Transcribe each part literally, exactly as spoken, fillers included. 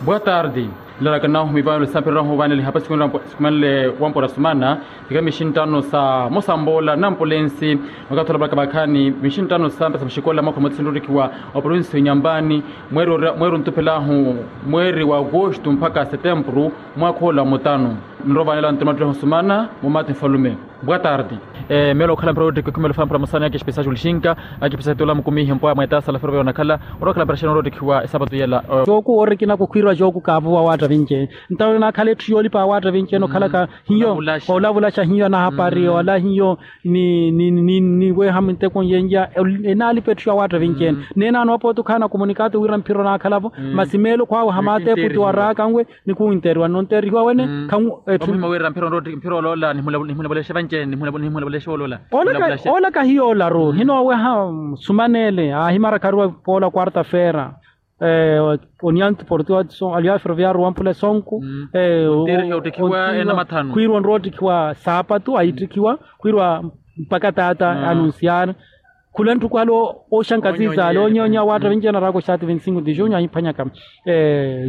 Boa tardi. Nlalaka nahu mivano lisampirirahu vaneli hapa sikumanle wampora sumana. Fika mixintano sa mosamboola na ampulensi. Wakathi olavalaka vakhaani mixintano sa mpesa muxikola mwaakha mutsi nrurikhiwa wa provinsi ya inyampani. Mweeri ontuphelahu mweeri wa agosto mpakha setempuru. Mwaakha ola mutanu. Nroovanela ntumattuleho sumana mumathi nfalume. Boa tardi. Meelo okhala mpira oottikhiwa khumela ofampura masana ya kespesaju lixinka. Akipisa tula mukumihi mpwa mweetasa la ferove onakhala. Orookhala mpira xeena oroottikhiwa esapatu yela. Jooku oorikina kukhwiiriwa jooku kaavuwa waatta vinci. Ntawe naakhala etthu yoolipa waatta vinci ene okhalaka hiyo. Olavulaxa hiyo anahapari ola hiyo. Ni ni ni ni weha minteko yenja. Enaalipa etthu ya waatta vinci ene. Neenaano apooti okhaana komunikato wira mphira onaakhalavo. Masi meelo khwaawe hamaate eputi waraaka nwe. Ni kuwinteriwa nonterihiwa wene. Khamu etthu omuhima wira mphira oloola nihimulapuleshe vanci ene nihimulapuleshe oloola. Ola kahiyo olaru hinooweha. Sumanele aahimarakariwa poola quarta feira. Onianti portiwa aliya ferroviario wampula esonku. Khwiiriwa onroottikhiwa saapatu aittikhiwa khwiiriwa mpaka taata anunsiyaari. Khula ntthukhu ale ooxankaziza ale oonyoonya waatta vinci enaraaka oxaati vinti-sinku ti junho ahiphwanyaka.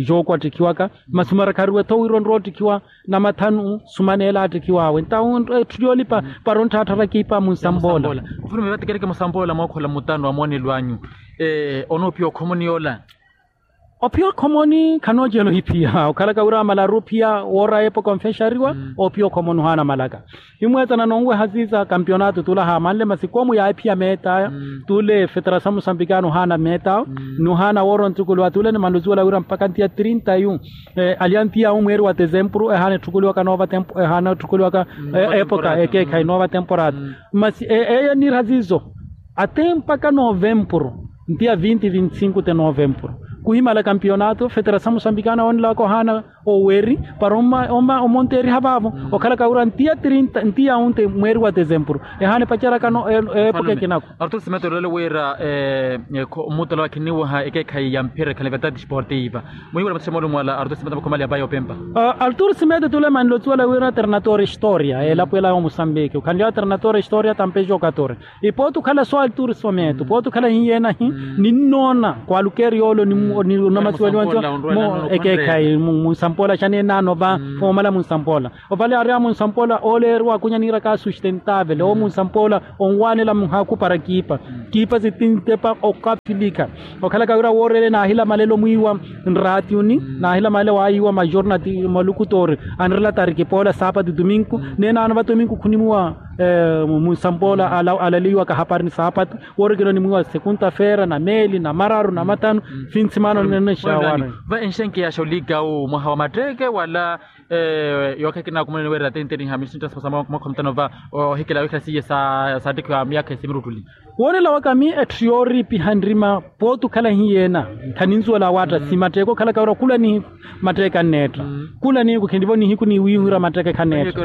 Jooku attikhiwaka masi marakhariwe-tho wira onroottikhiwa namathanu. Sumaneela attikhiwaawe ntawe etthu yoolipa para ontthaatthara kiipa munsampoola. Mfulume vatekereke musamboola mookhola mutanu wa moonelo anyu. Onoophiya okhomoni yoola. Ophiya okhomoni khanoocela ohiphiya okhalaka wira amalaru ophiya woora epoka onfexariwa. Ophiya okhomoni ohaana malaka. Himweetana nonweha ziiza kampionato tula haamanle masi koomu yaahiphiya meeta. Tule feterasamu sambikano ohaana meeta. Nohaana woora ontukuluwa tule ni manluzuwela wira mpaka ntiya trinta yu. Aliya ntiya wu mweeri wa tesempuru ehaana etthukuliwaka noova tempu ehaana etthukuliwaka epoka ekeekhayi noova temporada. Masi eyo eniira ziizo. Ate mpaka novempuru ntiya vinti vinti-sinku te novempuru. Kuhimala kampionato feterasamu sambikana woonelaka ohaana oweri para omonteeriha vaavo. Okhalaka wira ntiya trinta ntiya onte mweeri wa tesempuru ehaana epaceraka no epoka ekinako. Artur simeto olole wira mutala wakhiniwaha ekeekhayi ya mphira ekhale verdade sportiva. Muhiwela mathusha moolumo ala artur simeto vakhomalyapa yoopempa. Artur simeto tule manlotsiwela wira ternator historia elapo ela ya omusambiki okhanly'awe ternator historia tampejo katore. Ipooti okhala so altur simeto pooti okhala hiyenahi. Ninnoona kwalukeri yoolo ni onamasiweliwa ekeekhayi munsampoola xaneenaano va. Omala munsampoola ovale ari a munsampoola ooleeriwa akunya niiraka sustentavele oo munsampoola. Onwaanela muhaaku para kiipa kiipa sitintepa okafilikha. Okhalaka wira wooreele naahilamalelo mwiiwa nraatiuni naahilamalelo waayiiwa majornati malukutoori. Anrela tariki poola saapatu tuminku neenaano va tuminku khunimuwa. Munsampoola alaliwaka hapari ni saapatu woorikina onimwiiwa sekunta feera na meeli na mararu na mathanu. Finsimaano nene xawaana. Va enxenkeyaxa olikawu mwaha wa matteeke wala? Yookha ekinaakumuleni wira tenteniha misintta sa mwaakha mutano va ohikela wikhala siiye saattikhiwa myaakha esimirutuli. Woonela waka mi etthu yooriipiha nrima pooti okhala hiyeena. Khaninzuwela waatta si matteeke okhalaka wira khula nihiku matteeke anneetta. Khula nihiku khinlivo nihiku ni wiihurya matteeke khanneetta.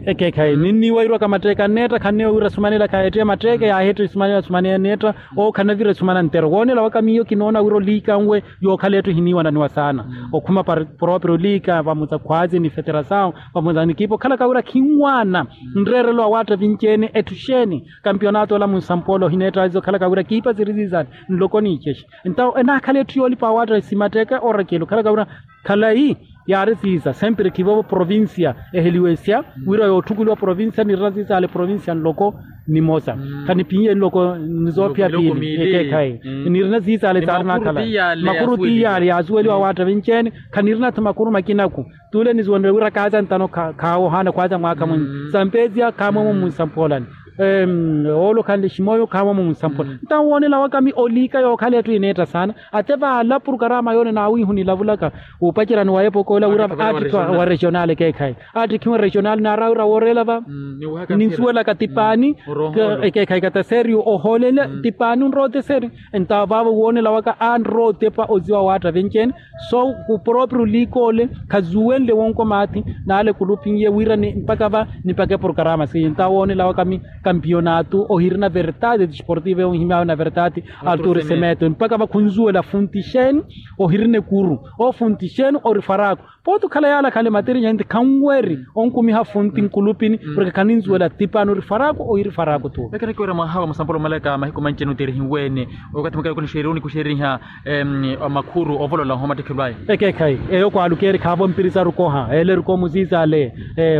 Ekeekhayi ninniiwa irwaka matteeke anneetta khanniiwa wira sumanela khaheettiya matteeke yaaheettiya sumanela sumanela anneetta. Owo khanavira sumana nttero woonela waka miyo kinoona wira oliikanwe yookhala etthu ehiniiwananiwa saana. Okhuma proprio oliika vamuza khwaazi ni feterasawu vamuza nikipa okhalaka wira khinwaana nreerelo awaatta vinci-ene etthu xeeni. Kampionato ola munsampoola ohineetta azi okhalaka wira kiipa siri siisani nloko niicexe. Ntawo enaakhala etthu yoolipa awaatta simatteeke orakeli okhalaka wira khalayi yaari siisa sempre khivovo provincia eheliwesya wira yootthukuliwa provincia nirina siisa ale provincia nloko nimosa. Khaniphiye nloko ni soophiya piili ekeekhayi nirina siisa ale saari naakhala makuru tiyaali yaasuweliwa awaatta vinci-ene. Khanirina-tho makuru makinaku tule nisuwenrye wira kaaza ntano khaawohana khwaaza mwaakha mwinyi sampezia khaamwemo munsampoolani. Oolo khanle ximoyo khaamwemo munsampoolani. Ntawo woonela waka mi oliika yookhala etthu ineetta saana ate vaala purukaraama yoone naawiihu nilavulaka wuupacerani wa epoka ola wira aattikhiwa wa regional ekeekhayi aattikhiwa regional naara wira wooreela va ninsuwelaka tipaani ekeekhayi kata serio ohoolela tipaani onrooteseri. Ntawo vaavo woonela waka anrootepa oziwa waatta vinci-ene. So khuproprio liikoole khazuwenle wonko maathi naale kulupinye wira ni mpaka va nipake porokarama siiye ntawo woonela waka mi kampionato ohirina verdade desportiva ehihimyaawe na verdade. Artur semeto mpaka va khunzuwela funtixeni ohirina ekuru ofuntixeni orifaraku. Pooti okhala yaala khale materi nyanti khanweri onkumiha funti nkulupini. Porke khaninzuwela tipaani ori faraku oyiri faraku tu. Ekerekiwera mwaha wa musampolo omalaka mahiku manci-ene oterihiweene okathi mukayoko nixeeriwe onikuxeriha makhuru ovolola ohomattikhelo aya. Ekeekhayi eyo kwaalukeeri khaavo mpirisaru koha eeleru komuziiza ale.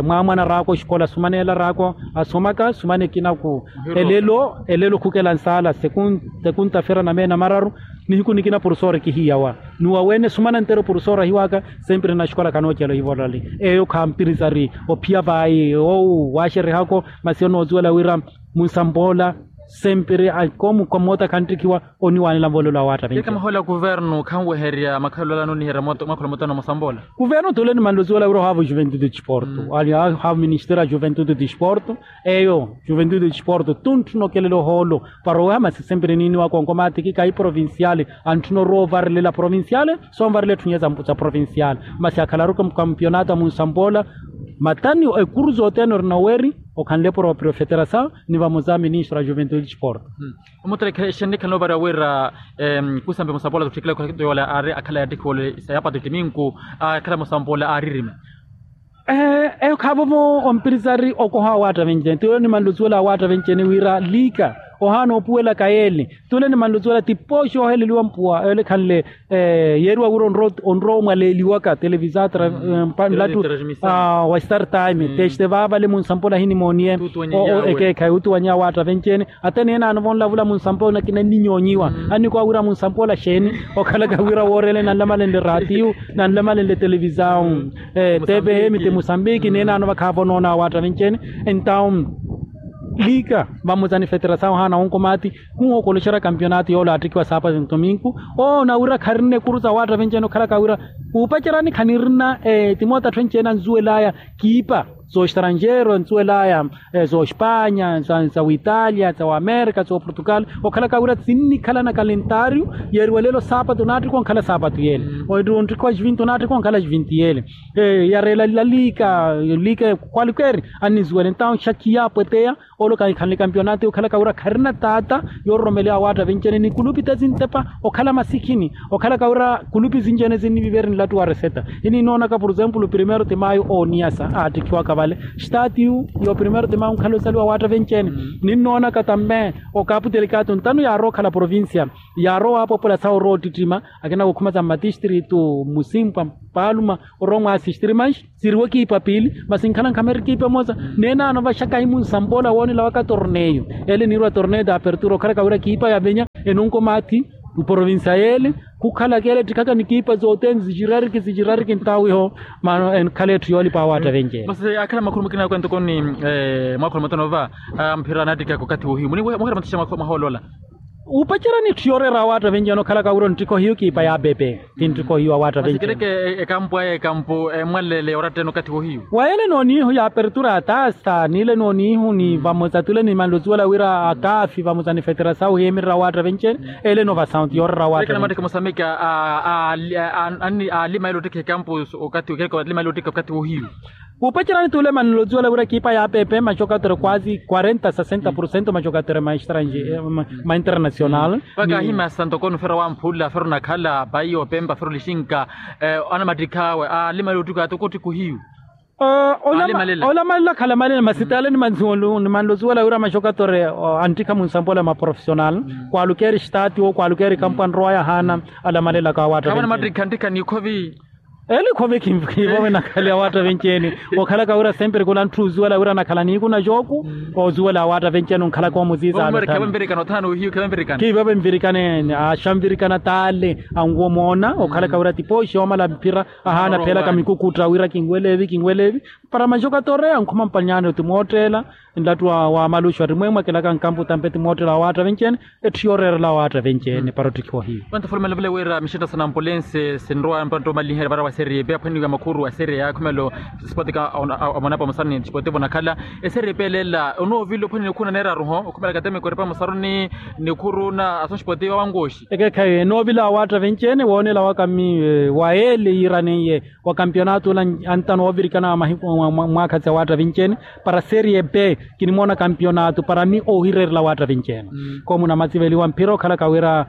Mwaamwana araako oxikola asumaneela araako asomaka sumana ekinaku. Elelo elelo khukela nsaala sekunta fera na meena mararu. Nihiku nikina porofesori kihiyawa nuwa wene sumana nteru porofesori ahiwaka. Sempiri na xikola kanoocela ohivolali eyo khampirisari ophiya vayi owu waaxerihako. Masi onoozuwela wira munsampoola sempiri akomu komoota khantthikiwa oniwaanela nvolelo awaatta vinci. Kamahola kuvernu khanweherya makhalolano niherya mwakhola mootano musampoola. Kuvernu tule nimanlozuwela wira ohaava juventude disporto ali ohaava ministeri a juventude disporto. Eyo juventude disporto tuntthuna okelela ohoolo para oweha masi sempiri niiniwaka onkomaatiki kahi provinciale. Antthuna orowa ovarilela provinciale soonvarela etthu n'iya za provinciale. Masi akhalaru kampionato a munsampoola matani ekuru zothene ori noweri okhanle proprio federasaw ni vamoza ministro a juventude disporto. Omuttale exennikhala novariwa wira kusampe musampoola tutthikile khwakito yoola aari akhala yaattikhiwa ole sayapato timinku akhala musampoola aaririma. Eyo khaavovo ompirisari okoha awaatta venci-ene tule nimanlozuwela awaatta venci-ene wira liika ohaana opuwelaka yeele. Tule nimanlozuwela tipooxi ooheleliwa mpuwa yoole ekhanle yeeriwa wira onrowa omwaleeliwaka televisatra nlatu wa star time teste vaavale munsampoola ahinimooniye. Ekeekhayi utuwanyiha awaatta venci-ene ata neenaano vonlavula munsampoola nakina nninyoonyiwa. Annikwaawira munsampoola xeeni okhalaka wira woorele nanlamalenle ratiyu nanlamalenle televisawu. Tepehemite musambiki neenaano vakhaavonoona awaatta venci-ene. Entawu liika vamoza ni federasawu ohaana wonkomaati khuhookoloxerya kampionato yoole aatthikiwa saapati ntominku. Oona wira kharina ekuru za awaatta venci-ene okhalaka wira kuupacerani khanirina timoota atthu enci-ene anzuwel'aya kiipa zooxtranxeiro anzuwel'aya zooxpanya za witalia za wamerika zooportugal. Okhalaka wira sinnikhala na kalentariyo yeeriwa leelo saapatu naattikha onkhala saapatu yeele. Ontthikiwa xvinti onaattikha onkhala xvinti yeele. Yareela laliika liika kwalikeeri annizuwela entawu xakhiya apweteya. Olo kankhanle kampionato okhalaka wira kharina taata yoororomeleya awaatta venci-ene ni kulupi ta sintepa okhala masikhini. Okhalaka wira kulupi sinci-ene sinnivivereni nlatu wa reseta ininnoonaka por exemplo primero ti mayo ooniyasa aattikhiwaka vale. Statiyu yo primero ti mayo onkhala osaliwa awaatta venci-ene. Ninnoonaka tambe okapu telekato ntano yaarowa okhala provincia yaarowa waapopola sawa orowa ottittima akina wokhuma sa mmatistritu musimpwa paluma orowa mwaasistiri manxi siriwa ekiipa piili masi nkhala nkhamera ekiipa emosa. Neenaano vaxaka ahi munsampoola woonelawaka torneyo ele niirwa torneyo d'apertura okhalaka wira ekiipa ya venya enonkomaathi mporovincia yeele khukhalaka ele ettikhaka ni ekiipa zothene zixirariki zixirariki ntawiho. Mano enkhala etthu yoolipa awaatta venci-ene. Masi akhala makhulu mukina akwentoko ni mwakhola mutano va mphira anaattikaka okathi wohiyu muhira muttixa mwahoolola. Wuupacerya ni etthu yooreera awaatta venci-ene okhalaka wira onttikha ohiyu kiipa ya pepe. Ti nttikho hiyo awaatta venci-ene. Masi kereke ekampu aya ekampu emwalele oratta-ene okathi wohiyu. Wa ele nooniihu ya apertura ya taasa niile nooniihu ni vamosa tule nimanle osuwela wira akaafi vamosa ni feterasawu ohiyemererya awaatta venci-ene. Ele novasawu ti yooreera awaatta venci-ene. Mwaattikha mosameki aalima ele ottikha ekampu okathi kereke aalima ele ottikha okathi wohiyu. Wuupacerya ni tule manle osuwela wira ekipa ya pepe maxokatere kwazi quarenta sesenta porcento maxokatere ma internacional. Vaka ahimya santo kono fero wamphula fero nakhala payi opempa fero lixinka anamattikha awe aalima ele ottikha ati okottikha ohiyu. Olamalela khalamalela masi tale nimanle osuwela wira maxokatere anttikha munsampola ma profesional. Kwaalukeeri stati wo kwaalukeeri kampu anrowaya ahaana alamalela kawatta. Khawana mattikha anttikha nikhovi. Ele khove khiivowe nakhale awaatta venci-ene. Okhalaka wira sempre khula ntthu osuwela wira nakhala niiku na jooku osuwela awaatta venci-ene onkhalaka omuziiza. Khiivowe nvirikane axa nvirikana tale anwo moona okhalaka wira tipooxi omala mphira ahaana pheelaka mikukutta wira kinweleevi kinweleevi. Para maxokatoreya nkhuma mpanyano timoottela nlattu wa maluxu attimwemwakelaka nkampu tampe timoottela awaatta venci-ene. Etthu yooreerela awaatta venci-ene para ottikhiwa ohiyu. Vantu fulumela vule wira mixetta sa nampolense sinrowa mpantta omaliherya vara wa serie b aphwaniwa makhuru a serie a khumelo. Sipotika amonapo musaruni sipotivo nakhala eserie b eleela onoovila ophwani nikhuna neeraruho okhumela katemeko eripa musaruni nikhuru na aso sipotivo awangoxi. Ekeekhayi enoovila awaatta venci-ene woonela waka mmi wa ele yiiraneiye wa kampionato ole antano oovirikana mahiku mwaakha si awaatta venci-ene. Para serie b kinimoona kampionato para mmi oohireerela awaatta venci-ene. Koomu namatsiveliwa mphira okhalaka wira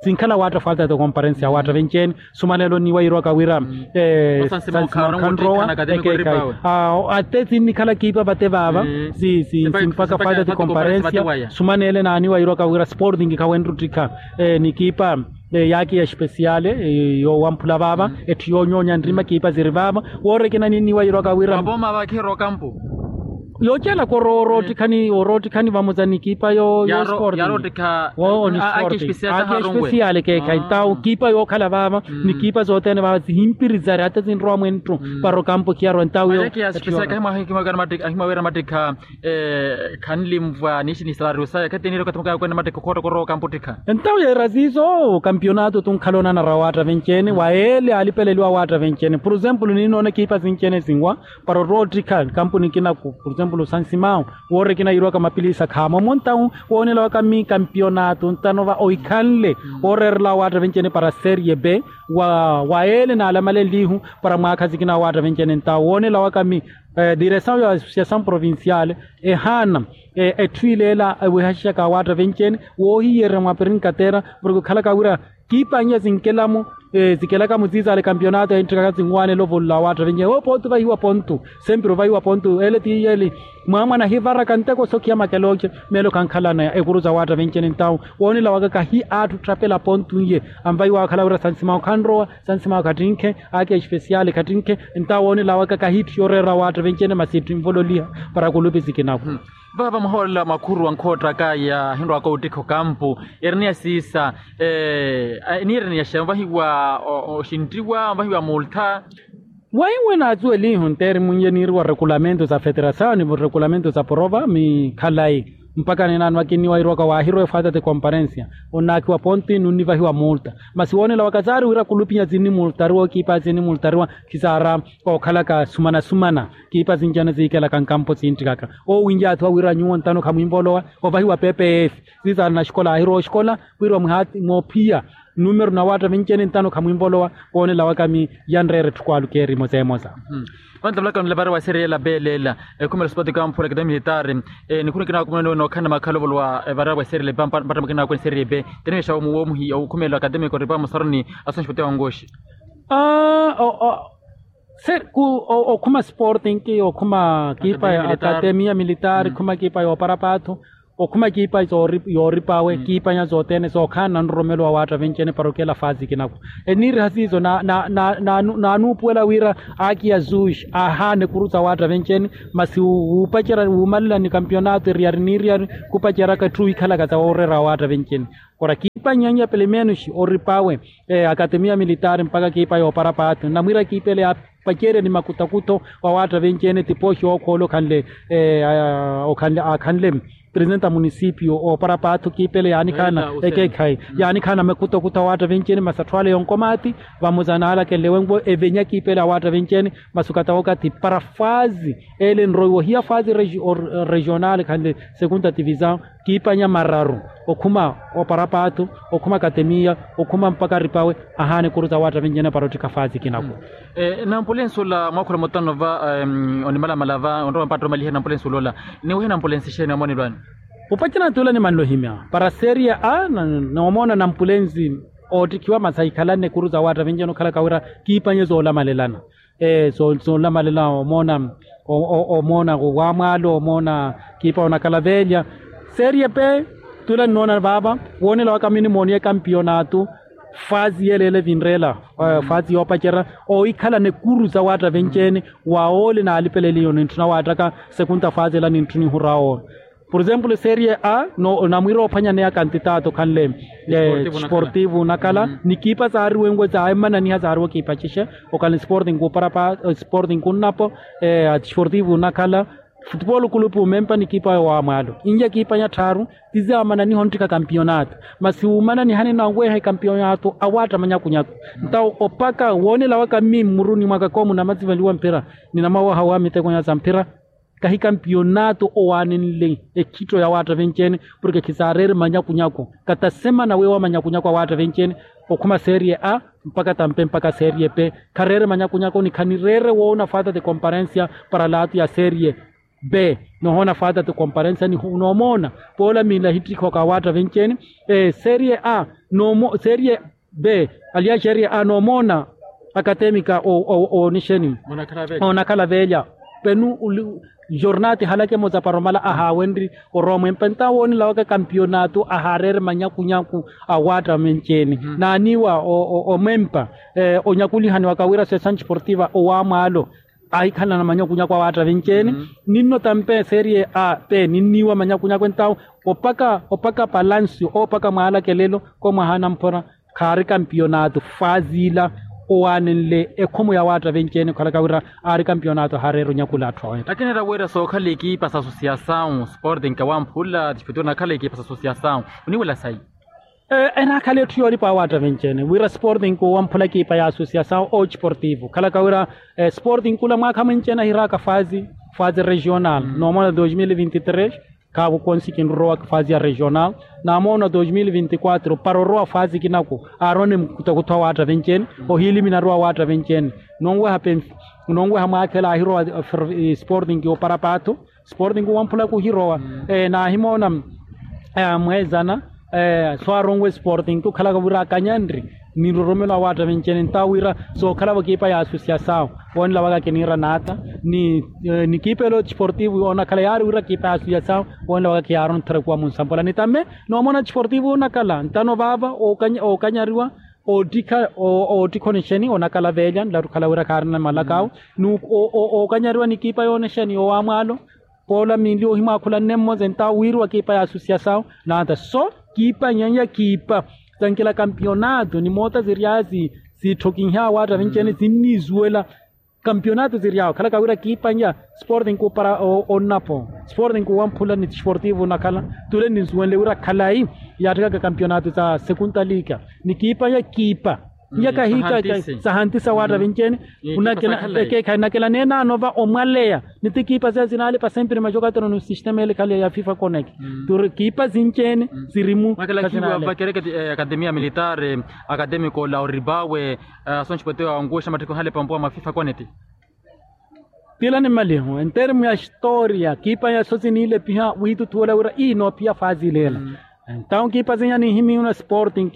Sinkhala waatta falta de comparensia waatta venci-ene. Sumanelo niwairuwaka wira sansimao khanrowa. Ate sinnikhala kiipa vate vaava. Simpaka falta de comparensia. Sumanele naaniwairuwaka wira sporting khawenruttikha ni kiipa yaakiya espesiale yoowamphula vaava. Etthu yoonyoonya nrima kiipa ziri vaava. Woori ekina ninniwairuwaka wira yoocelaka oroottikhani oroottikhani vamoza ni kiipa yo sporting. Aakiya espesiale keekhayi ntawu kiipa yookhala vaava. Ni kiipa zothene vaava zihimpiri zari ata zinrowa mwenttu. Para okampo khiyarwa ntawu yo. Khanlimvwa niishi ni salario saya khateniire okathi mukaya kwene mattekha okhoottokorwa okampo ottikha. Entawu yeera ziizo kampionato tunkhala onanara waatta venci-ene wa ele alipeleliwa waatta venci-ene por exemplo ninnoona kiipa sinci-ene sinwa. Para orwa ottikha kampuni kinaku por exemplo sansimao woori ekina yiirwaka mapilisa khaamo omo ntawu woonelawaka mi kampionato ntanova oikhanle ooreerelawa waatta venci-ene para serie b wa ele naalamalenlihu. Para mwaakha sikina waatta venci-ene ntawu woonelawaka mi diresawu ya associasawu provinciale ehaana etthu ileela ewehaxixaka awaatta venci-ene woohiyerya mwa pirinkatera. Porke okhalaka wira kiipa n'iya zinkelamo zikelaka muziizaale kampionato enttikaka zinwaanela ovololawa waatta venci-ene woopontu vahiwa pontu. Sempiri ovahiwa pontu ele ti yeli mwaamwana ahivaraka nteko sokhiya makelooce. Meelo khankhalana ekuru za waatta venci-ene ntawu woonelawaka kahi atthu otthapela pontu n'iye. Anvahiwa akhala wira sansimao khanrowa sansimao khattinkhe. Aakiya espesiale khattinkhe. Ntawo woonelawaka kahiitthu yooreera waatta venci-ene masi etthu envololiha para kulupi sikinaku. Vaava muhoolela mwakhuru wa nkhoottaka yaahinrowaka ottikha okampu eri ni ya siisa. Eniireni yaxeya onvahiwa oxinttiwa onvahiwa multha. Waiwe naatsuwelihu nteeri mwiiye niiriwa rekulamentu sa feterasawu ni rekulamentu sa porova mi khalayi. Mpakha ninaano akinniwairuwaka waahirowa efaata ti komparensia onnaakhiwa ponti nunnivahiwa multa. Masi woonelawaka saari wira kulupinya sinnimultariwa okiipa sinnimultariwa khisaara ookhalaka sumana-sumana. Kiipa sinci-ene siikelaka nkampo siinttikaka oowinyaathiwa wira nyuwo ntano khamwiivolowa ovahiwa pepe eefi. Sisaari naxikola aahirowa oxikola wira mwihaati moophiya numeru na waatta vinci-ene ntano khamwiivolowa. Woonelawaka mi yanreera etthu kwaaluka erimo seemosa. Vantamulaka nlapari wa serie la belela ekhumela sipoti kamphula kete militari. Nikhuna kinawakumuna nookhanna makhala ovolowa evara wa serie la mpatta makina wakwene serie b. Teniwexa womuhi okhumela akademiko ripa musaruni asunxipoti wangoxi. Aa okhuma sporting okhuma kiipa ya akademia militari khuma kiipa yoopara paathu. Okhuma kiipa yooripawe kiipanya sothene sookhaana nroromelo wa waatta vinci-ene para okela faasi kinaku. Eniiriha siiso naanuupuwela wira aki ya zush aahaana ekuru sa waatta vinci-ene. Masi wuupacerya wuumalela ni kampionato eriyari n'iriyari khupaceryaka etthu wikhalaka sa wooreera wa waatta vinci-ene. Kora kiipanya pelemenuxi oripawe akademia militari mpakha kiipa yoopara paathu namwiira kiipa ele yaapacerya ni makutakutho wa waatta vinci-ene tipooxi ookhoole okhanle okhanle akhanle presidente a munisipio oopara paathu kiipa ele yaanikhaana ekeekhayi yaanikhaana makutakutho a waatta vinci-ene masi atthu ale yonkomaati. Vamoza naalakenle wenwo evenya kiipa ele a waatta vinci-ene masi okatawokathi para faasi ele enroiwa ohiya faasi regional khanle segunda tivisawu. Kiipanya mararu okhuma oparapaathu okhuma akatemiya okhuma mpakha aripawe ahaana ekuru sa waatta vinci-ene para ottikha faasi kinaku. Nampulensi ola mwaakhula mutano va onimalamala va onrowa mpatta omaliherya nampulensi ola ola niwehe nampulensi xeeni amonelwani? Opacana tula nimanle ohimya para seria a noomoona nampulensi oottikhiwa masi ahikhalanne ekuru sa waatta vinci-ene okhalaka wira kiipanye soolamalelana. Soolamalela omoona omoona wamwaalo omoona kiipa onakhala veelya. Serie pe tula nnoona vaava woonela waka minimooniye kampiyonaato. Faasi yeleele vinreela faasi yoopacerya oohikhalana ekuru sa waatta venci-ene. Wa oole naalipeleliyo nintthuna waattaka sekunta faasi ela nintthuna ihura oole. Por exemplo serie a namwiira oophwanyaneya kantitato okhanle sportivo onakhala ni kiipa saariwenwe saamananiha saariwa kiipa cixe. Okhanle sporting kuparapa sporting kunnapo sportivo onakhala futupolo kulupu omempa ni kiipa yowamwaalo inye kiipanya tthaaru. Ti saamananiha onttikha kampionato masi wuumananihani naweeha ekampionato awaatta manyakunyaku. Ntawo opaka woonela waka mmi mmuruni mwaka koomu namasivaliwa mphira ninamawaha wa mitekonya sa mphira. Kahi kampionato owaanenle ekhitto ya waatta venci-ene porke khisaareere manyakunyaku kata semana weewa manyakunyaku a waatta venci-ene. Okhuma serie a mpaka tampe mpaka serie pe khareere manyakunyaku ni khanireere woona faata ti komparensia para laatu ya serie. B. Nohoona faata ti komparensa ni noomoona poola miila ahittikha okawaatta venci-ene. Serie a, serie b, aliya serie a noomoona akatemika oonixeni, oonakhala veelya. Penu jornal ti halaka emoza para omala ahaawenrye orowa mwempa entawo woonelawaka kampiyonaato ahaareere manyakunyaku awaatta venci-ene. Naaniiwa omwempa onyakulihaniwaka wira sessan sportiva owaamwaalo ahikhalana manyakunyaku awaatta venci-ene. Ninno tampe serie a pe ninniiwa manyakunyaku entawo opaka opaka palancio opaka mwaalakelelo ko mwaha anamphora khaari kampiyonaato faazi ila owaanenle ekhomo ya waatta venci-ene okhalaka wira aari kampiyonaato ahaareera onyakula atthu aweettha. Akineera wira sookhala ekipa sa asosiasawu sporting kawamphula tispeturu nakhala ekipa sa asosiasawu oniwela sayi? Enaakhala etthu yoolipa awaatta venci-ene wira sporting kuwamphula ekipa ya asosiasawu o sportivo khalaka wira sporting kula mwaakha mwenci-ene ahiraaka faazi faazi regional noomona dos mil vinti tres. Khaavo konsi kinrowa faazi ya regional naamoona dos mil vinti quatro para orowa faazi kinaku aarone mukutakuta awaatta venci-ene. Ohiilimi narowa awaatta venci-ene nonweha penfi nonweha mwaakhela ahirowa sporting opara paatho sporting wamphulaku ohirowa. Naahimoona mweezana so aronwe sporting okhalaka wira akanyanri ni nroromelo awaatta venci-ene ntawo wira sookhalavo ekipa ya asosiasawu woonelawaka kiniira naata ni ekipa elo sportivo onakhala yaari wira ekipa ya asosiasawu woonelawaka kiyaarontherekuwa munsampola ni tamme noomona sportivo onakhala ntano vaava ookanyariwa oottikha oottikha onixeni onakhala veelya nlattukhala wira khaarina malakawo ookanyariwa ni ekipa yoonixeni owaamwaalo poola miili ohimwaakhula nne mmosa entawo wiiriwa ekipa ya asosiasawu naata so kiipa nyanya kiipa sankila kampiyonaato ni moota siryaazi siitthokinhya awaatta vinci-ene sinniisuwela kampiyonaato siryaawo khalaka wira kiipa nya sporting kuupara onnapo sporting kuwamphula ni sportivo onakhala tule ninsuwenle wira khalayi yaatthikaka kampiyonaato sa sekunta liika ni kiipa nya kiipa nya kahiika sahantisa waatta vinci-ene. Ekeekhayi nakela neenaano va omwaleya ni ti kiipa seya sinaalipa sempre majokatero ni sistema ele khale ya fifa connect turi kiipa sinci-ene sirimu. Vakereketi akademia militar akademiko lauribawe asonxipwetewa onkuxa matthikho hale pampuwa mwa fifa connect. Tila ni maliho entermu ya historia kiipa ya so siniilepiha wiituthuwela wira ii noophiya faazi ileela. Entawo kiipa sinya nihimihuna sporting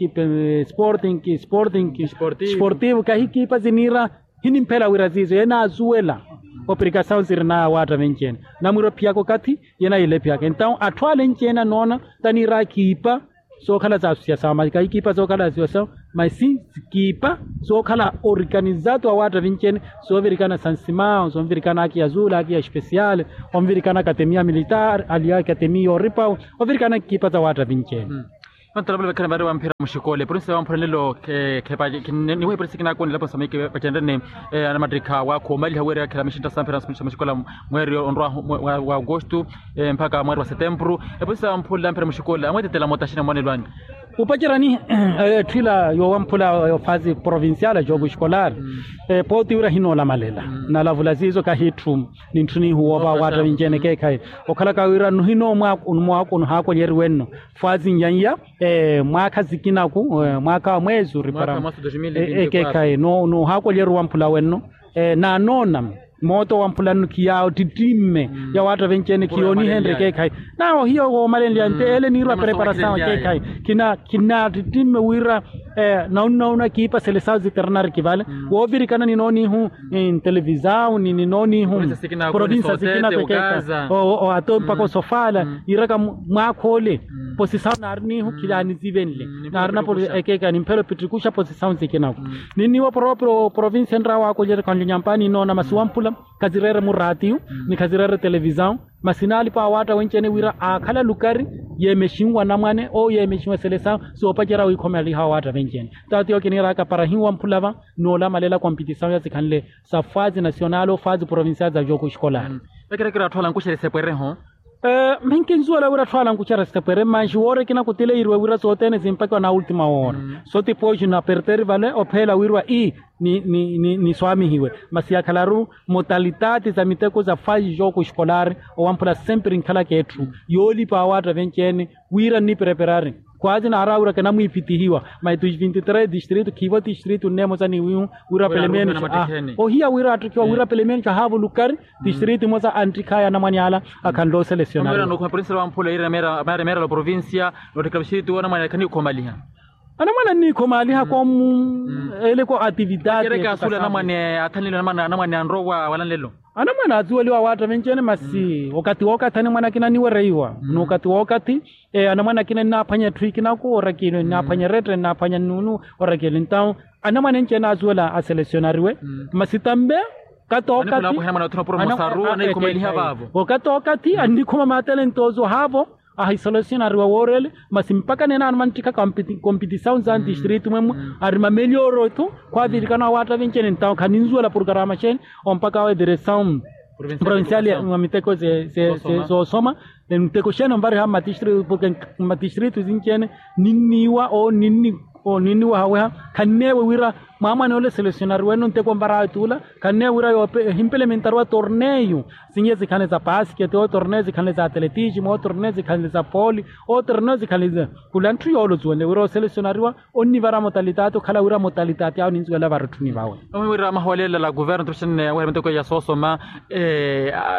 sporting sporting sportivo kahi kiipa siniira hinimphela wira siiso yenaasuwela oprikasawu sirinaya awaatta vinci-ene namwiira ophiyaka okathi yenayilephiyaka entawo atthu ale nci-ene anoona taniira kiipa sookhala sa asosiasawu masi kahikiipa sookhala sa asosiasawu masi kiipa sookhala orikanizato awaatta vinci-ene soovirikana sansimawu soovirikana aki ya zuula aki ya espesiale ovirikana akatemiya militar aliya akatemiya oripawu ovirikana kiipa sa waatta vinci-ene. Nontela vale vakhani vari wamphira muxikoole epurinsi ya wamphira nelo khepa niwe epurinsi kinakoonela posa mike vacenrene anamattikha waakha omaliha wira yakhela mixintta samphira muxikoole mweeri onrwa wa agosto mpakha mweeri wa setempuru. Epusi amphunle amphira muxikoole amweetetela moota axina mwanelo anyu. Opacerani etthu ila yoowamphula ofasi provincial a jogo escolar pooti wira ahinoolamalela nalavula siiso kahi etthu nintthunihu woova awaatta vinci-ene ekeekhayi okhalaka wira nuhinoomwaako nuhaakolyeriwe nno fasi nyan'ya mwaakha sikinaku mwaakha wa mweezi oripara ekeekhayi noohaakolyeriwa mphula wenno naanoona moota owamphula nno khiyaattittimme yawaatta venci-ene khiyoonihenrye ekeekhayi nawo hiyo woomalenlya nte ele niirwa preparasawu ekeekhayi khinattittimme wira naunnauna kiipasele sawu ziternari kivale woovirikana ninoonihu ntelevisawu ni ninoonihu provinsa sikinaku ekeekhayi ato mpaka osofala yiiraka mwaakha ole posisawu naarinihu khilaanizivenle naarina ekeekhayi nimphela opittirikuxa posisawu sikinaku ninniiwa provinsa enraawa akolyerya khanlyo nyampani ninoona masi wamphula khazireere muraatiyu ni khazireere televisawu masi naalipa awaatta wenci-ene wira aakhala lukari yeemexinwa anamwane ou yeemexinwa eselesawu soopacerya wiikhomeliha awaatta venci-ene taatiyo kiniiraka para hinwamphula va noolamalela kompitisawu ya sikhanle sa fasi nasional ou fasi provincial sa jogo escolar. Vekerekere atthu alankuxerya esepwereho mhinkinsuwela wira atthu alankuxerya esepwere manxi woora ekina kutileiriwe wira sothene simpakiwa na ultima woora so tipoxi naperteri vale opheela wirwa ii ni ni ni ni swamihiwe masi yakhalaru motalitaati sa miteko sa fasi jogo escolar owamphula sempre nkhalaka etthu yoolipa awaatta venci-ene wira nnipereperari Khwaazi naaraawiraka namwiipitihiwa. Mai tu vinti tres distritu khiivo distritu nne emosa ni wihu wira pelemeni ohiya wira attikhiwa wira pelemeni ahaavo lukari. Distritu emosa anttikhaya anamwane ala akhanle oselesyonari. Anamwane anniikhomaaliha koomu eleko atividade. Anamwane athanlelo anamwane anrowa walanlelo. Anamwane azuweliwa waatta vinci-ene masi okathi wookathi anamwane akina anniwereiwa n'ukathi wookathi. Anamwane akina ennaaphwanya etthu ikina koorakile ennaaphwanya erette ennaaphwanya nnuunu. Orakile entawu anamwane enci-ene azuwela aselesyonariwe. Masi tambe okathi wookathi okathi wookathi annikhuma maatalentoozo haavo. Ahiselesyonariwa wooreele masi mpakha neene ano manttikha kompitisawu za ntistritu mwemwe ari mameliyooro etthu. Khwaavirikana owaatta vinci-ene entawu khaninzuwela purkarama xeeni ompakha awo ediresawu provincial ya miteko zoosoma. Miteko xeeni onvariha mmatistritu porke mmatistritu sinci-ene ninniiwa oo ninniwahaweha. Khanneewe wira mwaamwane ole selesyonariwene onteko onvaraawe tuula. Khanneewe wira yoope ehimpelementariwa torneyu sinye zikhanle za pasikete oo torneyu zikhanle za atletismu oo torneyu zikhanle za pooli oo torneyu zikhanle za khula ntthu yoole ozuwenle wira oselesyonariwa onnivara motalitaati okhala wira motalitaati awo ninzuwela varitthuni vawe. Omi wira amahoolela la kuverno tuxinne aweha miteko ya soosoma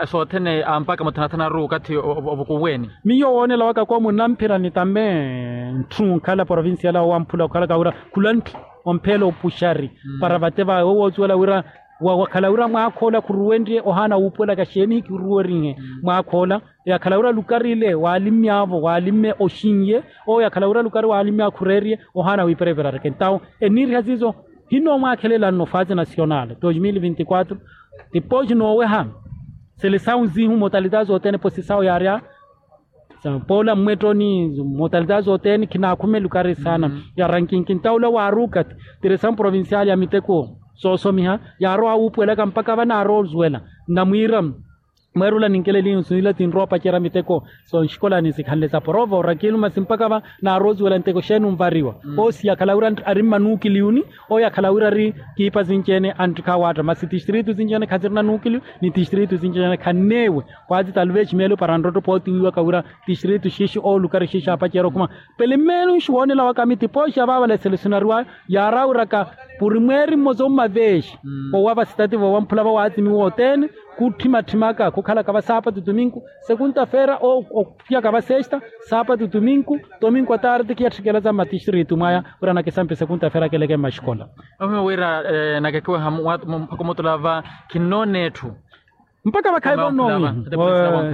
soothene ampakha muthanathanaru okathi ovukuweni. Miyo woonela waka koomu nnamphira ni tame ntthu onkhala provincial awo wamphula okhalaka wira khula ntthu ompheela opuxari para vate vawe wo woosuwela wira wakhala wira mwaakha ola khuruwenrye ohaana wuupuwelaka xeeni hikiruwerihe mwaakha ola. Yakhala wira lukari ile waalimmyaavo waalimme oxinye owo yakhala wira lukari waalimmyaavo khureeriye ohaana wiipereperareke entawo enniiriha siiso. Hino mwaakhelela nno faazi nasional dos mil vinti quatro tipooxi nooweha selesawu ziihu motalitazi othene posisawu yaarya poola mmwettoni motalitazi zothene khinaakhuma elukari saana. Ya rankinki ntawula waaruka tiresamu provincial ya miteko soosomiha yaarowa wuupuwelaka mpakha vanaaroozuwela nnamwiira mweerula ninkelelihu siila tinrowa opacerya miteko sonxikolani sikhanle sa porova orakilu masi mpakha vanaaroozuwela nteko xeeni onvariwa. Owo siyakhala wira ari mmanuukiliyuni owo yakhala wira ari kiipa sinci-ene anttikha awaatta masi tistritu sinci-ene khasirina nuukiliyu ni tistritu sinci-ene khanneewe. Khwaazi talvexi meelo para nrotto pootiwiwaka wira tistritu xixi owo lukari xixi aapacerya okhuma pele meelo nxuwoonela waka mitipooxi avaavala eselesyonariwayo yaaraawiraka puri mweeri mmosa ommavexi owa vasitativo wamphula vawaatsimiwa othene. Khutthimatthimaka khukhalaka va saapatu tuminku sekunta feera ophiyaka va sexta saapatu tuminku tominku ataarti khiyatthikela za mmatistritu mwaya wira nakisampe sekunta feera keleke mmaxikola. Ohima wira nakekiweha mpakha omutula va khinnoona etthu. Mpakha vakhayi vonnowi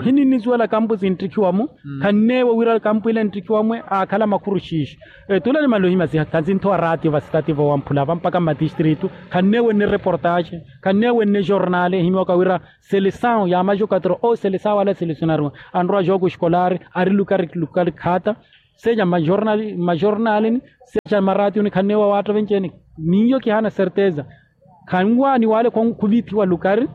hininnizuwela kampu sinttikhiwa-mu khanneewe wira kampu ile nttikhiwa-mwe aakhala makhuru xiixi. Tula ni maluhima siha khanzinthowa raatiyo vasitativo wamphula va mpakha mmatistritu khanneewe nne reportaxe khanneewe nne jornale ehimiwaka wira selesawu ya majokatro oo selesawu ala selesyonariwa anrowa jogo eskolari ari lukari lukari khaata. Seja mmajornalini seja mmaratiyoni khanneewe awaatta venci-ene miyo kihaana serteza. Khanwaaniwa ale khuvithiwa lukari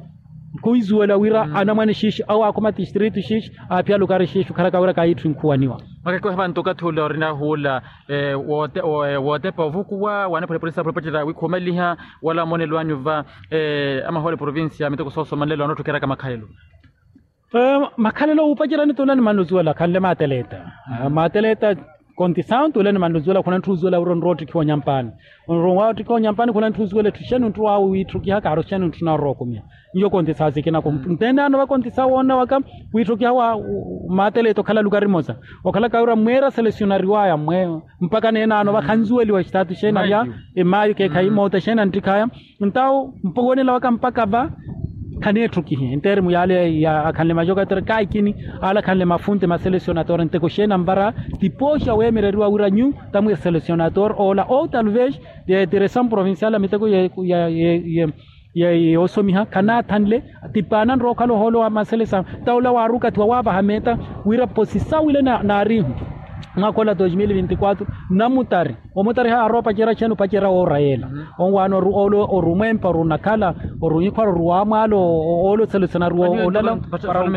khuizuwela wira anamwane xiixi awo aakhuma tistritu xiixi aaphiya lukari xiixi okhalaka wira kaayitthu inkhuwaniwa. Makakiweha vantu okathi ule orina huula wootepa ovukuwa waaniphulepulesaphula opacerya wiikhumeliha wala moonelo anyu va amahoole provincia miteko soosoma nlelo anootthukheraka makhalelo. Makhalelo wuupacerya nitula nimanluzuwela khanle maateleta. Maateleta kontisawu nitula nimanluzuwela khuna ntthu uzuwela wira onrowa ottikhiwa onyampani onrowa ottikhiwa onyampani khuna ntthu uzuwela etthu xeeni ntthu waawe wiitthukiha kaari oxeeni ntthu naarookumiha. Nyo kontisawu sikina nteene ano vakontisawu woona waka wiitthukiha wa maateleta okhala lukari mmosa okhalaka wira mweera selesyonariwaya mwe mpakha neene ano vakhanzuweliwa exitaatu xeeni arya emaayu keekhayi moota xeeni anttikhaya. Ntawo mpuwonela waka mpakha va khaneetthukihe entermu yaale akhanle majokatera kaikini ale akhanle mafunte maselesyonatore nteko xeeni anvara. Tipooxa weemereriwa wira nyu tamwi eselesyonatore oola ou talvez diresamu provincial a miteko yoosomiha khanaathanle. Tipaana nrowa okhala ohoolo wa maselesa ntawo ola waaruka thiwa waavaha meeta wira posisawu ile naarihu mwaakha ola dos mil vinti quatro namutari omutari haarowa opacerya xeeni opacerya woora yeela. Onwaana oru oole oru omwempa oru onakhala oru onyikhwara oru waamwaala oole oselusana oru olala.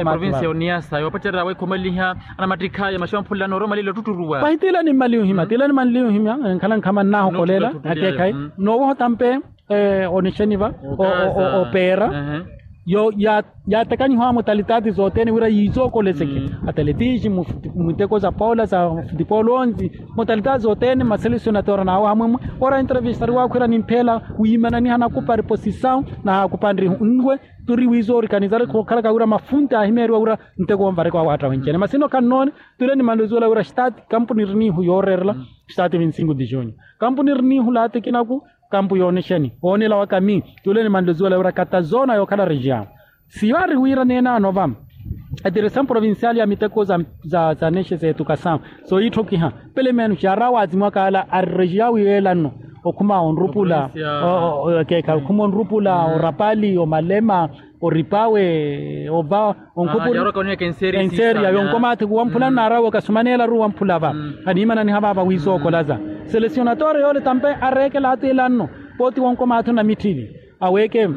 Provincia oniyasa yoopacerya weekhumaliha anamattikhaya maxi omphulelani oru omalile otutturuwa. Pahi tiila nimmaliha ohimya tiila nimmaliha ohimya enkhala nkhama nnaahokolela. Akeekhayi noowoha otampe onixeniva opeera. Yo yaatekanihiwa mutalitati zothene wira yiisokoleseke. Atletisi, miteko za pola za futipolo onsi, mutalitati zothene maselesionatoora n'awo amwemwe. Ora entrevistariwa akhwira nimpheela wiimananiha nakupa riposisawu naakupa nrihu nwe. Turi wiisoorikanizari khokhalaka wira mafunti aahimeeriwa wira nteko onvareka wawaatta wencene masi ino khannoone. Tule nimanle zuwela wira staati kampuni ri niihu yooreerela. Staati vinsingu dijunyu kampuni ri niihu laati kinaku. Kampu yoonexeni woonela waka mi tule nimanle zuwela wira katazoona yookhala rejiyawu. Siyo ari wira neenaano va etiresamu provinciali ya miteko za nexe zeetukasamu sooyitthokiha. Pelemenu xaari awaazimwaka ala ari rejiyawu yeelanno okhuma onrupula. Okhuma onrupula orapali omalema oripawe ova. Onkhupuri enseriya yonkomaathi kuwamphula nnaarawe okasumaneelaru wamphula va. Khaniimananiha vaava wiisookolaza selesionatoore yoole tampe areekela atiilanno. Pooti wonkomaathi onamitthili aweeke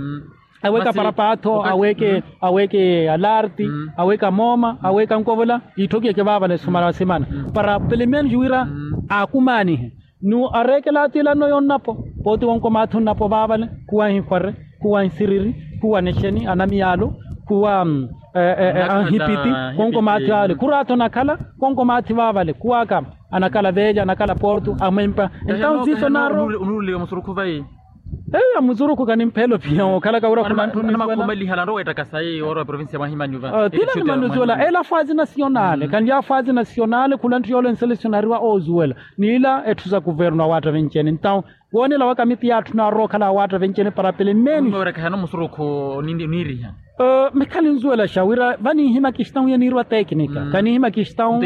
aweeke aparapaatho aweeke aweeke alarti aweeke amooma aweeke ankovola iitthokiyeke vaavale sumana simana para pelemenu juwira aakumaanihe. Ni areekela atiilanno yonnapo pooti wonkomaathi onnapo vaavale khuwa anhihware khuwa ansiriri khuwa anexeni anamiyaalu khuwa anhipiti. Wonkomaathi vaavale khuraatho nakhala wonkomaathi vaavale khuwaka anakhala veelya anakhala porto amwempa. Entawu siiso naaro. Eyo ya musurukhu kanimpheelo phiya okhalaka wira khulatthu. Tila ni manluzuwela ela faazi nasiyonale kanlya faazi nasiyonale khula ntthu yoole nselesionariwa oozuwela. Niila etthu sa kuvernu awaatta venci-ene entawu woonela waka mitti yaatthuna arookhala awaatta venci-ene para pele meeni. Musurukhu niiriha. Mikhali nzuwelaxa wira vaniihima kistawu yaniiriwa tekinika kaniihima kistawu.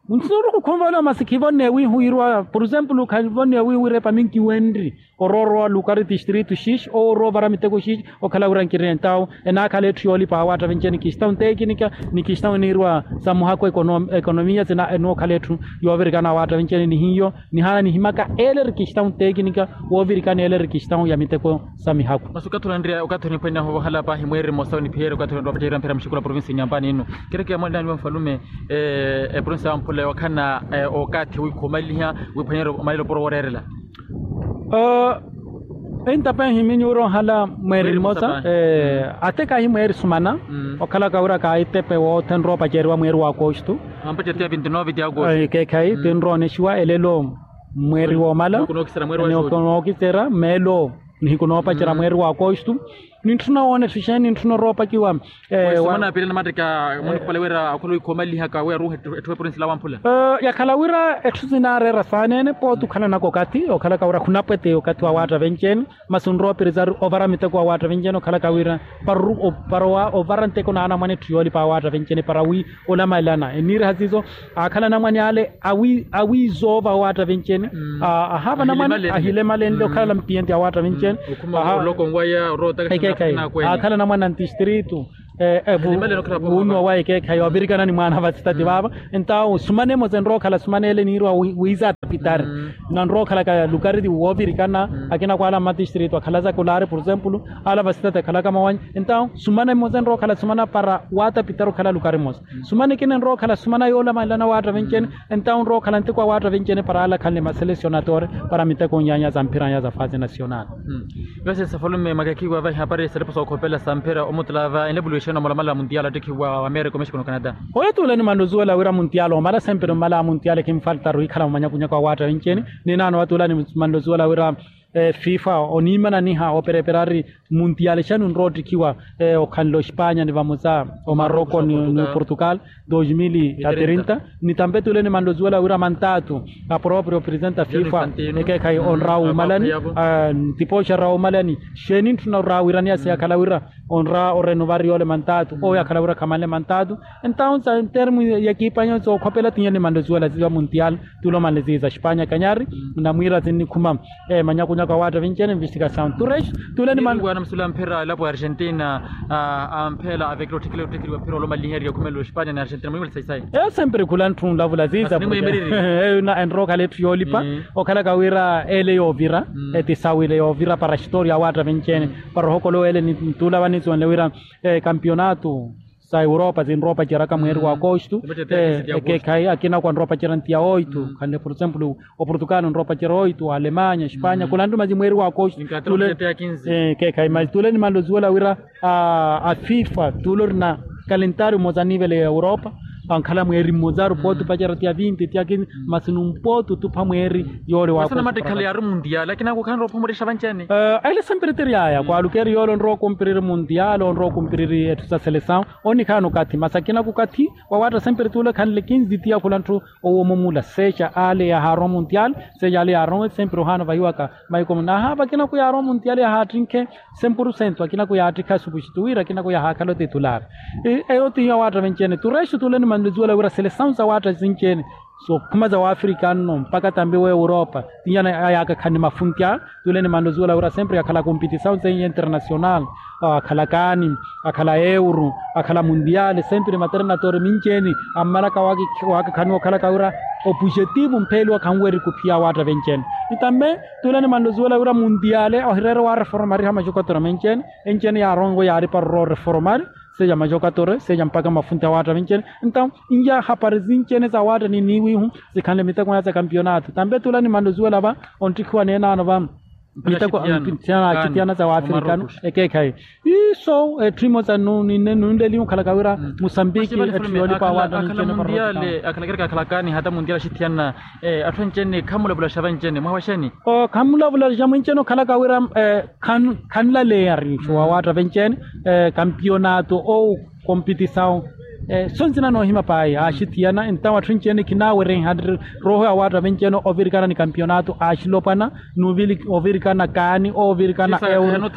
Musurukhu khunvolowa masi khivonne wiihu yiriwa por exemplo khavonne wiihu wira epa minkiwenri oroorowa lukari tistritu xixi owo orowa ovara miteko xixi. Okhala wira nkirina entawu enaakhala etthu yoolipa awaatta venci-ene kistawu ntekinika ni kistawu eniiriwa sa muhakhu ekonomiya sina enookhala etthu yoovirikana awaatta venci-ene nihiyo nihaana nihimaka eele eri kistawu ntekinika woovirikana eele eri kistawu ya miteko sa mihakhu. Masi okathi onanriya okathi oniphwaniha ovohala paahi mweeri mmosa oniphiyerya okathi onanriya opaceriwa mphira muxikulu a provincia inyampani inu. Kerekeya mwanilani wa nfalume eprovincia ya wamphula yookhalana okathi wiikhumaliha wiiphwanyerya omalelo opuro wooreerela. Entapehi minyuuro ohala mweeri mmosa atekahi mweeri sumana. Okhalaka wira kaahitepe woothe nrowa opaceriwa mweeri wa akostu. Ekeekhayi tinrowa onexiwa elelo mweeri woomala. Nookisera meelo nihiku noopacerya mweeri wa akostu. Nintthuna woona etthu xeeni nintthuna oroopakiwa. Sumana pira namattika munikupale wira akhula wiikhomalihaka wi aruuha etthu eprovincia la wamphula. Yakhala wira etthu sinaareera saaneene pooti okhalanaka okathi okhalaka wira khunapweteya okathi wa waatta venci-ene. Masi onrowa opirizari ovara miteko wa waatta venci-ene okhalaka wira para ovara nteko naanamwane etthu yoolipa awaatta venci-ene para wi olamalelana eniiriha siiso. Aakhala anamwane ale awiizoova awaatta venci-ene. Ahaava anamwane ahilemalenle okhala mpiyenti awaatta venci-ene. Aakhala anamwane antistritu. Wuunuwa wa ekeekhayi ovirikana ni mwaana vasitati vaava. Entawu sumana emosa enrowa okhala sumana ele niiriwa wiiza atapitari. Nanrowa okhalaka lukari woovirikana akina kwaala mmatistritu akhala za kulaari por exemplo ala vasitati akhalaka mawanya. Entawu sumana emosa enrowa okhala sumana para waatapitari okhala lukari mosa. Sumana ekina enrowa okhala sumana yoolamalelana waatta venci-ene. Entawu nrowa okhala nteko awaatta venci-ene para ala akhanle maselesionatore para miteko nyaanya za mphira nya za faazi nasional. Vese safalume makekhiwa vahi hapari salipo sookhopela sa mphira omutulava enle vuluwexana omalamala muntiala ottekhiwa wa amerika omexiko no canada. Oyo tuula nimanle ozuwela wira muntiala omala sempre omala muntiala ekinfaltaru hikhala mumanyakunyaku awaatta venci-ene. Ninaano watuula nimanle ozuwela wira fifa oniimananiha opereperari muntiale xani onrowa ottikhiwa okhanle ospanya ni vamosa omaroko ni oportugal. Dos mil a trinta ni tampe tule nimanle ozuwela wira mantaatu apropriya opresenta fifa ekeekhayi onrawa wuumalani. Ntipoxa rawa wuumalani xeeni ntthuna orawa wiraniya siyakhala wira onra orenovari yoole mantaatu oyo akhala wira khamanle mantaatu. Entawu sa entermu ya ekipanyo sookhopela tinya nimanle ozuwela ziwa muntial. Tule omanle ziiza xipanya kanyari namwiira sinnikhuma manyakunyaku awaatta vinci-ene investigasawu tule nimanle. Mphira elapo ya argentina amphela avekela otthikila otthikiliwa mphira olomaliheriya okhumela ospanya ni argentina mwiimela sayi sayi. Eyo sempre khula ntthunlavula ziiza. Eyo enrowa okhala etthu yoolipa okhalaka wira ele yoovira etisawile yoovira para xitoria awaatta vinci-ene para ohokolowa ele nituula vaniiziwanle wira kampionato. sa europa sinropaceraka mweeri wa akostu. Ekeekhayi akina kwa nropacerya ntiya oitu khanle por exemplo, oportugal nropacerya oitu alemanya espanya khula nttuma si mweeri wa akostu. Ekeekhayi masi tule nimanle osuwela wira a fifa tule orina kalentari mmosa niivele ya europa, ankhala mweeri mmosaru pooti opacerya tiya vinti tiya kinsi. Masi numpooti otupha mweeri yoole wakostu. Ele sempre tiri yaya kwalukeeri yoole onrowa okumpiriri mundial onrowa okumpiriri etthu sa selesaw. Onnikhaana okathi masi akina kukathi wawaatta sempre tuule khanle kinzitiya khula ntthu. Owo mumula seexa ale yahaarowa mundial seexa ale yaarowa sempre ohaana vahiwaka. Maiko muna ahaava akina kuyaarowa mundial yahaattinkhe. Cem por cento akina kuyaattikha supuxitu wira akina kuyahaakhala otitulaari. Eyo tihiyo awaatta venci-ene tureexo tuule nimanle osuwela wira selesaw sawaatta sinci-ene sookhuma sa waafrika nno mpakha tambi wa europa. Tinyana ayaka khani mafunti a tule nimanle osuwela wira sempre akhala kompitisaw seiya internasional akhala kaani akhala euro akhala mundial sempre maternatore minci-ene ammalaka waakakhaniwa okhalaka wira opujetivu mpheeliwa khanweri kuphiya awaatta venci-ene. Ni tambe tule nimanle osuwela wira mundial ohireere waareforomariha maxokatore menci-ene. Enci-ene yaarongo yaaripa roro oreforomari seexa maxokatore seexa mpakha mafunti awaatta venci-ene. Entaw inya hapari sinci-ene sawaatta ni niiwihu sikhanle miteko aya sa kampionato tambe tule nimanle osuwela va onttikhiwa neenaano va miteko axithiyana sa waafrikano. Ekeekhayi iso etthu imosa nunleliwe okhalaka wira musambiki etthu yoolipa awaatta. Akhala mundial akhala kereka akhala kaani hata mundial axithiyana atthu enci-ene khamulavulaxa vanci-ene mwaha wa xeeni? Khamulavulaxa mwenci-ene okhalaka wira khanlaleya riixo wawaatta venci-ene kampionato ou kompitisaw. Sonsi nanoohima payi axithiyana entawo atthu enci-ene khinaawerenha rooho yawaatta venci-ene ovirikana ni kampionato axilopwana. N'uvirikana kaani ovirikana euro.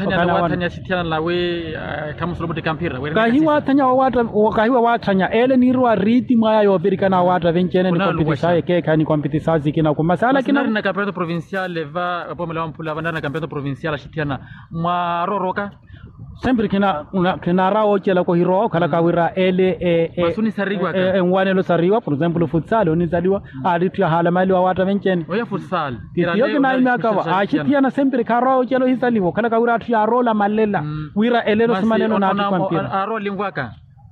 Kahiwa waathanya ele niiriwa riitimu aya yoovirikana awaatta venci-ene ni kompitisaw ekeekhayi ni kompitisaw sikina kumasala kina. Mwarooroka sempre khinaara woocelaka ohirowa okhalaka wira ele enwanelo sariwa por exemplo futsal onisaliwa aari etthu yahaalamaliwa awaatta venci-ene. Titiyo kinaimyaka va axithiyana sempre khaara woocelaka ohisaliwa okhalaka wira atthu yaaroola malela wira elelo simanelo naattikwa mpira.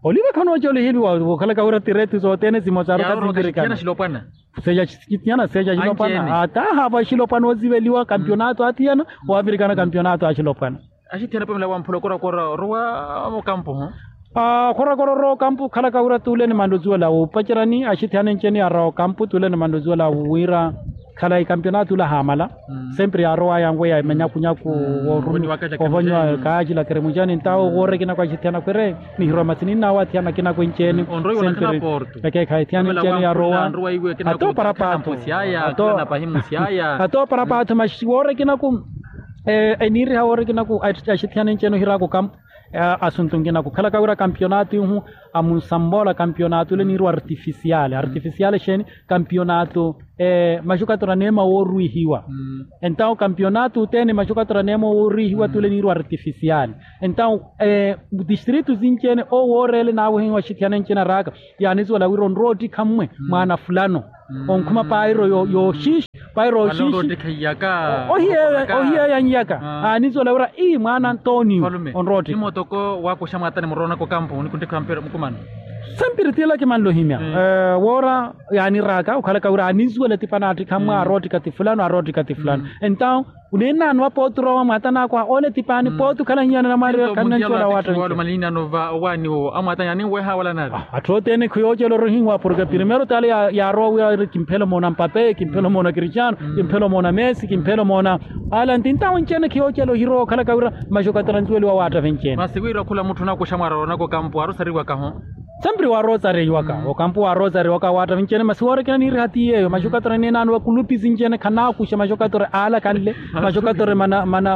Oliva khanoocelaka ohiliwa okhalaka wira tiretu sothene simosa aruka sinvirikana. Seexa axithiyana seexa axilopwana ata ahaava axilopwana osiveliwa kampionato athiyana owavirikana kampionato axilopwana. Axithiyana pamela wamphula okorakora orowa okampu ho. Okorakora orowa okampu okhalaka wira tule nimanle osuwela wupacerani axithiyana enci-ene yaarawa okampu tule nimanle osuwela wira khalayi kampionato ula ahaamala. Sempre yaarowaya yanweya manyakunyaku woorumi ovonyiwa kaacila keremuxani ntawo woora ekinaku axithiyana khwere nihirowa masi ninnaawo athiyana akinaku enci-ene. Ekeekhayi athiyana enci-ene yarowa. Ata oparapaatho ata oparapaatho masi woora ekinaku eniiriha woora ekinaku axithiyana enci-ene ohiraaka okampu. Asuntu nkinaku okhalaka wira kampionato ihu amunsamboola kampionato ile niiriwa artifisiale artifisiale exeeni? Kampionato maxukatura neema woorwihiwa. Entawo kampionato othene maxukatura neema woorwihiwa tule niiriwa artifisiale. Entawo distritu sinci-ene owo wooreele naawehihiwa axithiyana enci-ene araaka yaanisuwela wira onrowa ottikha mmwe mwaana fulano onkhuma pairo yooxiixi pairo yooxiixi. Ohiyeeya nyiyaka aanisuwela wira ii mwaana antonio onrowa ottikha. Nimootoko waakuxa mwaatani muroonaka okampu nikuntikha mpira mukumano. Sempiri tila kimanle ohimya woora yaaniraaka okhalaka wira aanisuwela etipa naattikha mmwe aarowa ottikha ti fulano aarowa ottikha ti fulano. Entawo oneenaano wa pooti orowa mwaatani akwaha ole etipaani pooti okhala hiyana namwaari khanancuwela waatta. Atthu othene khiyoocelorya ohihiwa porke primero tale yaarowa wira ari kimphela omoona mpape kimphela omoona kristiano kimphela omoona messi kimphela omoona alanti ntawo enci-ene khiyoocela ohirowa okhalaka wira maxokatara nsuweliwa waatta venci-ene. Masi wira khula mutthu onakuxa mwaarorwanaka okampu waarowa osariwakaho. Sempre waarowa osariwaka okampu waarowa osariwaka waatta venci-ene masi woora ekina niiriha ti yeeyo maxokatara eneenaano wa kulupi sinci-ene khanaakuxa maxokatara aala kanle maxokatara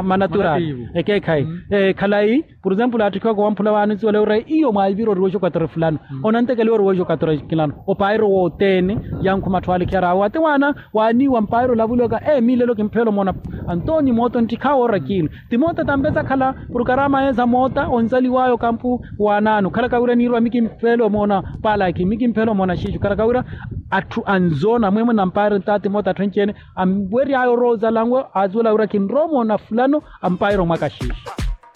manaturaali. Ekeekhayi khalayi por exemplo aattikhiwaka wamphula waanisuwela wira iyo mwaivira oriwa exokatore fulano onantekeliwa oriwa exokatore kinano opairo wothene yankhuma atthu aalikhiyaraawe ati waana waaniiwa mpairo olavulwaka ee miilelo kimpheela omoona antonio mooto nttikhawo orakiino ti moota tampesa akhala porokarama yeesa moota onsaliwaya okampu waanaano khalaka wira niirwa mi kimpheela omoona palaki mi kimpheela omoona xiixu khalaka wira atthu anzoona mwemwe nampairo ntaati moota atthu enci-ene anweryaya orowa ozalanwe aasuwela wira kinrowa omoona fulano ampairo mwaka xiixu.